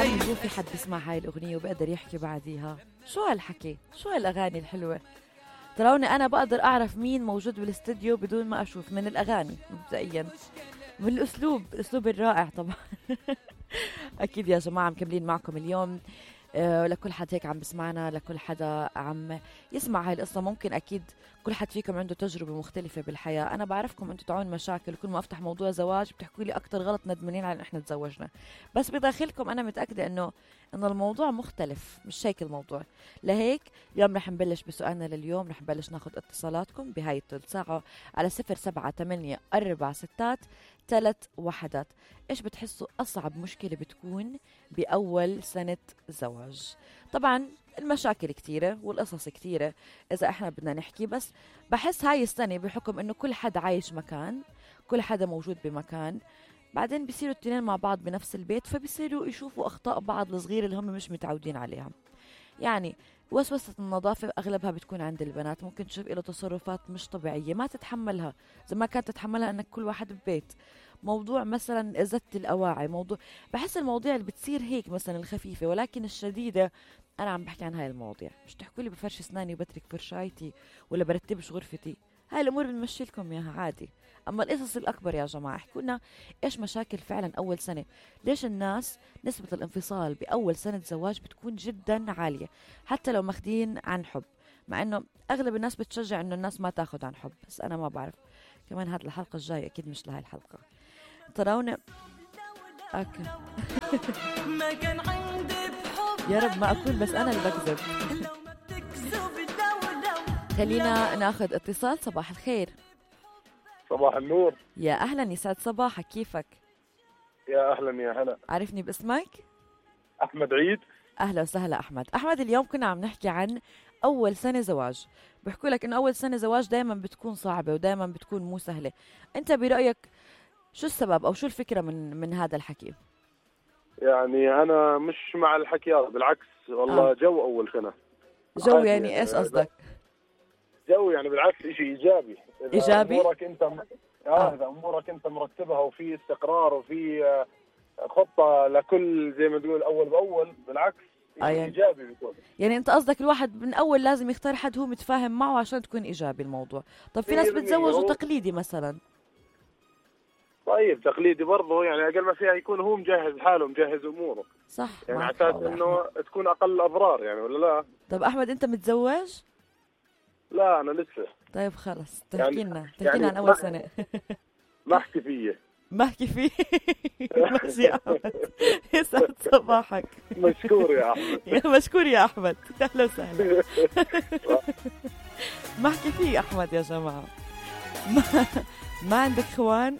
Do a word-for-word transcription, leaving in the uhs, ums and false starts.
عمي هو في حد بيسمع هاي الأغنية وبقدر يحكي بعديها؟ شو هالحكي؟ شو هالأغاني الحلوة؟ تروني أنا بقدر أعرف مين موجود بالاستديو بدون ما أشوف، من الأغاني مبدئيا، من الأسلوب، الأسلوب الرائع طبعا. أكيد يا جماعة مكملين معكم اليوم. أه لكل حد هيك عم بسمعنا، لكل حدا عم يسمع هاي القصة، ممكن أكيد كل حد فيكم عنده تجربة مختلفة بالحياة. أنا بعرفكم أنتوا تعون مشاكل، كل ما أفتح موضوع زواج بتحكوا لي أكتر غلط ندمانين على إن إحنا تزوجنا، بس بداخلكم أنا متأكدة إنه إنه الموضوع مختلف، مش هيك الموضوع. لهيك اليوم رح نبلش بسؤالنا لليوم، رح نبلش ناخد اتصالاتكم بهاي الثلث ساعة على صفر سبعة ثمانية أربعة ستات ثلاث وحدات. إيش بتحسوا أصعب مشكلة بتكون بأول سنة زواج؟ طبعا المشاكل كتيرة والقصص كتيرة إذا إحنا بدنا نحكي، بس بحس هاي السنة بحكم إنه كل حدا عايش مكان، كل حدا موجود بمكان، بعدين بيصيروا التنين مع بعض بنفس البيت، فبيصيروا يشوفوا أخطاء بعض الصغيرة اللي هم مش متعودين عليها. يعني وسوسة النظافة أغلبها بتكون عند البنات، ممكن تشوف إله تصرفات مش طبيعية ما تتحملها زي ما كانت تتحملها أنك كل واحد ببيت. موضوع مثلا إزالة الأواعي، موضوع بحس المواضيع اللي بتصير هيك مثلا الخفيفة ولكن الشديدة، أنا عم بحكي عن هاي المواضيع. مش تحكوا لي بفرش أسناني وبترك فرشايتي ولا برتبش غرفتي، هاي الأمور بنمشي لكم إياها عادي. أما القصص الأكبر يا جماعة احكوا لنا إيش مشاكل فعلا أول سنة، ليش الناس نسبة الانفصال بأول سنة زواج بتكون جدا عالية حتى لو ماخدين عن حب، مع إنه أغلب الناس بتشجع إنه الناس ما تاخد عن حب، بس أنا ما بعرف. كمان هاد الحلقة الجاية أكيد مش لهاي الحلقة. تراونا أوكي. يا رب ما أكون بس أنا اللي بكذب. خلينا ناخد اتصال. صباح الخير. صباح النور. يا أهلا، يسعد صباحك، كيفك؟ يا أهلا يا هلا. عرفني باسمك؟ أحمد عيد. أهلا وسهلا أحمد. أحمد اليوم كنا عم نحكي عن أول سنة زواج. بحكوا لك إنه أول سنة زواج دايما بتكون صعبة ودايما بتكون مو سهلة. أنت برأيك شو السبب أو شو الفكرة من من هذا الحكي؟ يعني أنا مش مع الحكي هذا، بالعكس والله. آه. جو أول سنة. جو يعني, يعني إيش قصدك؟ جو يعني بالعكس إشي إيجابي. إذا إيجابي؟ أمورك أنت م... آه. آه. إذا أمورك أنت مرتبها وفي استقرار وفي خطة لكل زي ما تقول أول بأول، بالعكس آه يعني. إيجابي بيكون. يعني أنت قصدك الواحد من أول لازم يختار حد هو متفاهم معه عشان تكون إيجابي الموضوع. طب في ناس بتزوجوا تقليدي مثلا. طيب تقليدي برضه يعني أقل ما فيها يكون هو مجهز حاله مجهز أموره. صح. يعني على أساس إنه تكون أقل أضرار يعني، ولا لا؟ طب أحمد أنت متزوج؟ لا أنا لسه. طيب خلص تحكي لنا يعني تحكي لنا يعني عن أول سنة. ما أحكي فيه. ما أحكي فيه. ماشي يا أحمد، يسعد صباحك. مشكور يا أحمد. يا مشكور يا أحمد، أهلا وسهلا. ما أحكي فيه أحمد يا جماعة. ما, ما عندك خوان؟